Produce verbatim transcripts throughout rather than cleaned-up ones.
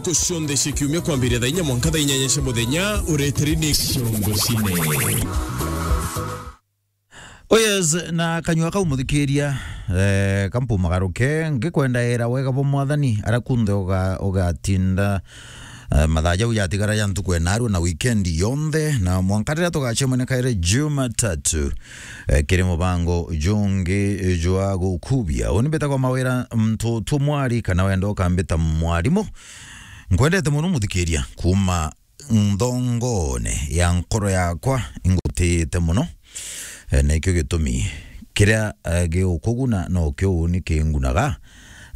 Ntuku cionthe cia kiumia kwambiria thaa inya mwanka thaa inyanya cia muthenya, ureteri ni Ciongo Cine. Oh yes, na kanyua kau muthikiria, eh, kampu magaruke, ngikwenda era wega bwa Mwathani, ara kunthe uga-, ugatinda, eh, mathaa jau jatigara ja ntuku enarua na weekend yonthe, na mwanka riria tugacemania kairi Jumatatu, eh, kiri mubango jungi jwa gukubia. Uni mbitagwa Mawira Ntutu Mwari, kana wenda ukambita mwarimu. Nkwendete muno muthikiria, kuma nthongone ya nkoro yakwa ingutiite muno. Eh, na ikio gitumi kiria, eh, giukuguna no kio uni kingunaga,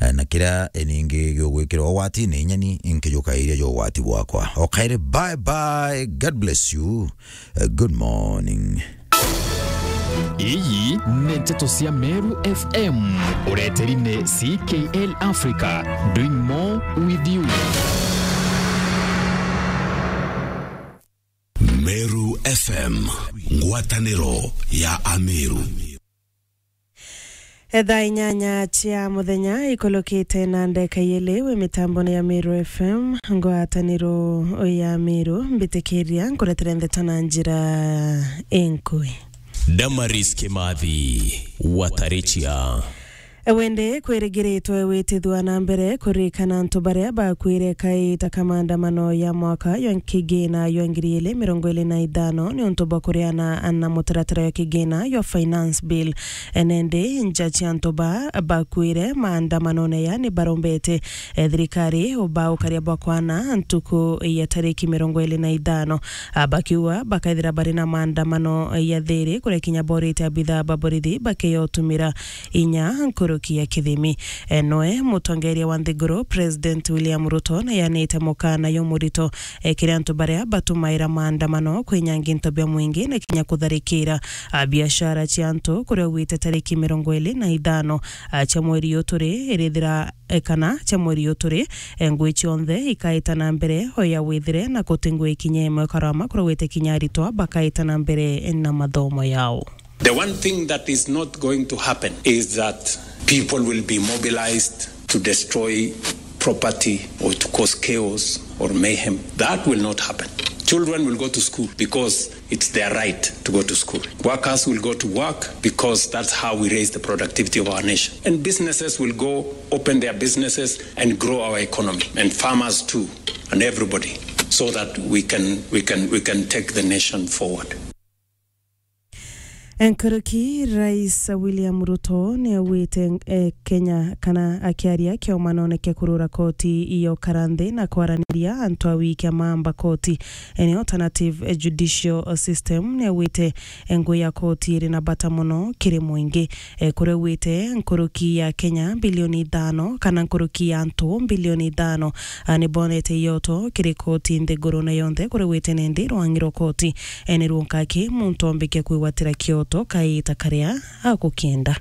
eh, na kiria, eh, ningi giugwikira ugwatine inyani inkijukairia jo ugwati bwakwa. O kairi, bye bye, God bless you, eh, good morning. Iyi ni nteto cia Meru F M. Ureteri ni C K L Africa, doing more with you. Meru F M, ngwataniro ya Ameru. Thaa inyanya cia muthenya ikulukite na ndeka iili, wi mitambone ya Meru F M, ngwataniro ya Meru, mbitikiria nkuretere ndeto na njira inkui. Damaris Kimathi, Watarichia. Wende kwirigiritwe witithua na mbere kuririkana antu baria bakwire kaita ka maandamano ya mwaka jwa kigina jwa ngiri ili mirongo ili na ithano ni untu bwa kuriana na mutaratara jwa kigina jwa Finance Bill. Nende nja cia antu ba bakwire maandamanone ya ni barombete, eh, thirikari ubaukaria bwa kwana ntuku ya tariki mirongo ili na ithano, ah, bakiuga bakaithira bari na maandamano ya thiri kuria kinya borite abithaa ba borithi bakeyotumira inya nkuruki ya kithimi. Eh, noe mutongeria wa nthiguru, President William Ruto, nayanite mukana jumurito, eh, kiri antu baria batumaira maandamano kwinyangia into bia mwingi na kinya kutharikira, ah, biashara cia antu kuria ugwite tariki mirongo ili na ithano, ah, cia mweri uyu turi irithira, eh, kana cia mweri uyu turi, eh, ngui cionthe ikaita na mbere o ya withire na kuti ngui kinya imwe karama kuria ugwite kinya aritwa bakaita na mbere na mathomo yao. The one thing that is not going to happen is that people will be mobilized to destroy property or to cause chaos or mayhem. That will not happen. Children will go to school because it's their right to go to school. Workers will go to work because that's how we raise the productivity of our nation. And businesses will go open their businesses and grow our economy, and farmers too, and everybody, so that we can, we can, we can take the nation forward. Nkuruki, Rais William Ruto ni augite, eh, Kenya, kana akiaria kiomanone kia kurura koti iyo kara nthi na kwaraniria antu a wiki a maamba koti, eh, ni alternative, eh, judicial system, ni augite, eh, ngui ya koti iri na bata mono kiri mwingi. Eh, kuria augite nkuruki ya Kenya bilioni ithano, kana nkuruki ya antu bilioni ithano, ah, ni bonete iyoto kiri koti nthiguru na yonthe kuria augite nindi rwangi rwa koti, eh, ni runkaki muntu ombike kwigwatira kioto kaita karia agukienda.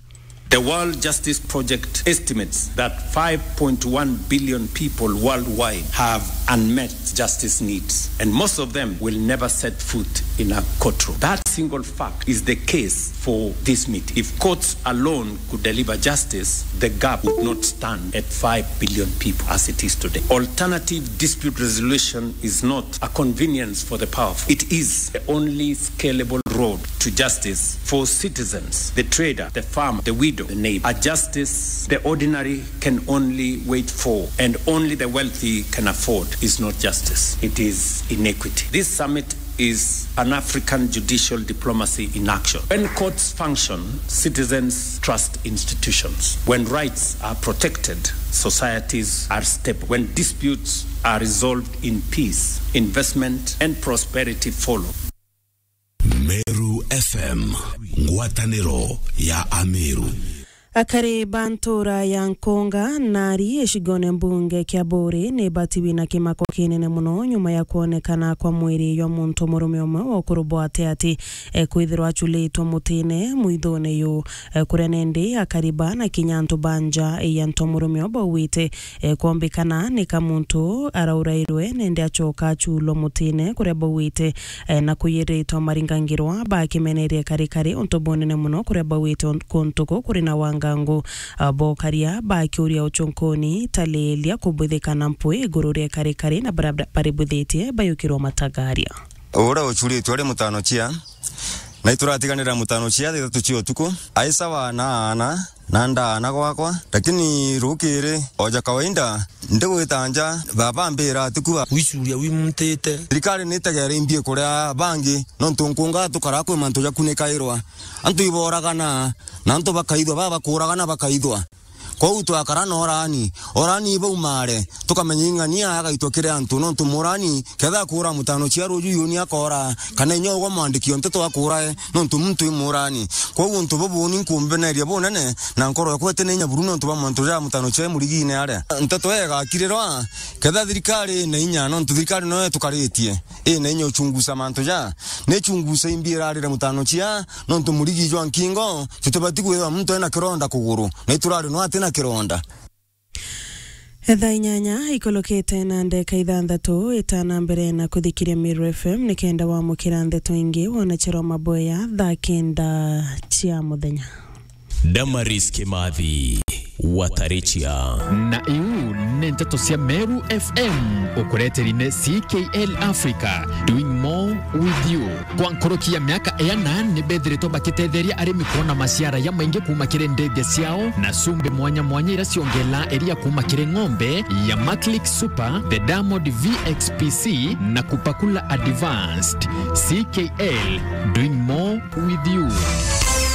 The World Justice Project estimates that five point one billion people worldwide have unmet justice needs, and most of them will never set foot in a courtroom. That single fact is the case for this meeting. If courts alone could deliver justice, the gap would not stand at five billion people as it is today. Alternative dispute resolution is not a convenience for the powerful. It is the only scalable road to justice for citizens, the trader, the farmer, the widow, the neighbor. A justice the ordinary can only wait for and only the wealthy can afford is not justice. It is inequity. This summit is Pan-African judicial diplomacy in action. When courts function, citizens trust institutions. When rights are protected, societies are stable. When disputes are resolved in peace, investment and prosperity follow. Meru F M, ngwataniro ya Ameru. Akari ba ntura ya Nkunga nari icigone mbunge kia Buuri ni batiwi na kimako kinene mono nyuma ya kwonekana kwa mwiri jwa muntu murume umwe wa ukuru bwa ati ati, eh, kwithirwa aculitwe mutine mwithone yu. Eh, kuria nindi akari ba na kinya antu ba nja ya ntu murume u baugite, eh, kwombikana ni ka muntu araurairwe nindi acoka aculwa mutine kuria baugite, eh, na kuyiritwa maringangirwa bakimenerie kari kari untu bunene mono kuria baugite un-, kuntu ku kuri na wanga Ngu, a, bokaria bakiuria ucunkuni, taleelia kubwithika na mpwi iguru ria karikari na bara-, baribwithitie bayukirwa matagaria. Uria ucuritwe ari mutano cia, na ituratiganira mutano cia thaa ithatu cia utuku, ai sawa na aana, na ndaana gwakwa, lakini rukiri, oja kawaida, ndigwita nja, baba ambira ati kuba. Wicuria wimuntite. Thirikari nitegere imbie kuria bangi, nontu nkunga tukara kwi mantu jakunikairwa. Antu iboragana, na antu bakaithwa, baba bakuragana bakaithwa. Kwou twakara na orani, orani ibaumare, tukamenya ing'ania agaitwa kiri antu, nontu murani, ketha akura mutano cia ruju yuni akora, kana inya ugwa mwandiki o nteto akurae, nontu muntu i murani. Kwou untu bubu ni nkumbeneria bunene, na nkoro yakwa iti na inya buru nontu bwa mantu ja mutano cia murigine aria. Nteto igakirirwa, ketha thirikari ina inya, nontu thirikari noyo itukaritie, ina inya uchungusa mantu ja, ni chungusa imbi irarire mutano cia, nontu murigi jwa nkingo, tutibati kwithirwa muntu ena kironda kuguru, na iturari no ati na kironda. Thaa inyanya ikolokete na ndeka ithanthatu, itana mbere na kuthikiria Meru F M, nikenda wamukira ndeto ingi, wona cherwa maboya thaa kenda cia muthenya. Damaris Kimathi, Watarichia. Na iu ni nteto cia Meru F M, ukureteri ni C K L Africa, doing more with you. Kwa nkuruki ya miaka iana, ni bethiritwe bakitetheria arimi kuona maciara ya maingi kuuma kiri ndege ciao, na cumbi mwanya mwanya ira ciongelaa iria kuuma kiri ng'ombe ya Maclick Super, the Diamond V X P C, na Kupakula Advanced. C K L, doing more with you.